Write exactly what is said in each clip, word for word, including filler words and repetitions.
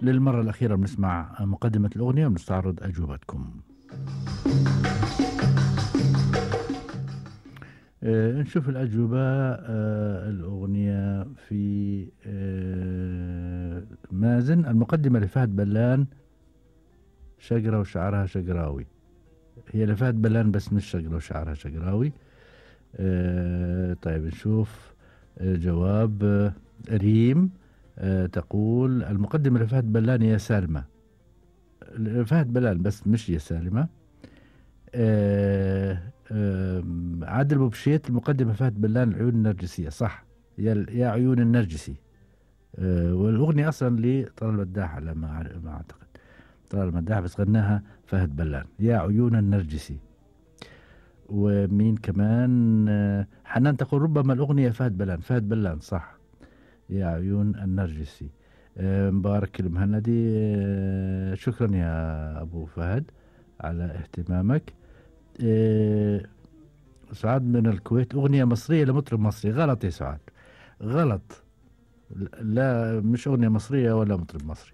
للمرة الأخيرة بنسمع مقدمة الأغنية وبنستعرض أجوبتكم. آه نشوف الأجوبة. آه الأغنية في آه مازن. المقدمة لفهد بلان شقرة وشعرها شقراوي. هي لفهد بلان بس مش شقرة وشعرها شقراوي. آه طيب نشوف آه جواب. آه ريم آه تقول المقدمة لفهد بلان يا سالمة. فهد بلان بس مش يا سالمة. آه آه عادل بوبشيت المقدمة فهد بلان العيون النرجسية صح. يا, يا عيون النرجسي. آه والأغنية أصلا لطلال مداح على ما, ما أعتقد طلال مداح بس غناها فهد بلان يا عيون النرجسي. ومين كمان؟ آه حنان تقول ربما الأغنية فهد بلان فهد بلان صح يا عيون النرجسي. آه مبارك المهندي. آه شكرا يا أبو فهد على اهتمامك. آه سعاد من الكويت أغنية مصرية لمطرب مصري. غلط يا سعاد غلط. لا مش أغنية مصرية ولا مطرب مصري.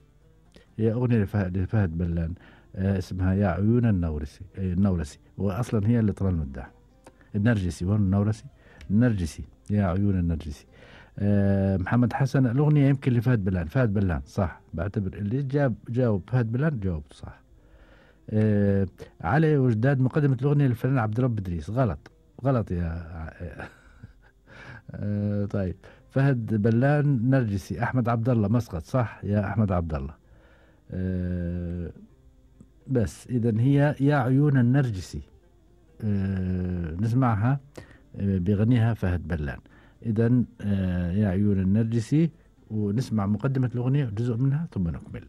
هي أغنية لفهد, لفهد بلان. آه اسمها يا عيون النورسي. آه النورسي وأصلا هي اللي طلال مداح النرجسي وين النورسي النرجسي يا عيون النرجسي. أه محمد حسن الأغنية يمكن لفهد بلان فهد بلان صح. بعتبر اللي جاب جاوب فهد بلان جاوب صح. أه علي وجداد مقدمة الأغنية للفنان عبد الرب إدريس. غلط غلط يا أه طيب فهد بلان نرجسي. أحمد عبد الله مسقط صح يا أحمد عبد الله. أه بس إذا هي يا عيون النرجسي. أه نسمعها أه بغنيها فهد بلان. إذن آه يا عيون النرجسي ونسمع مقدمة الأغنية جزء منها ثم نكمل.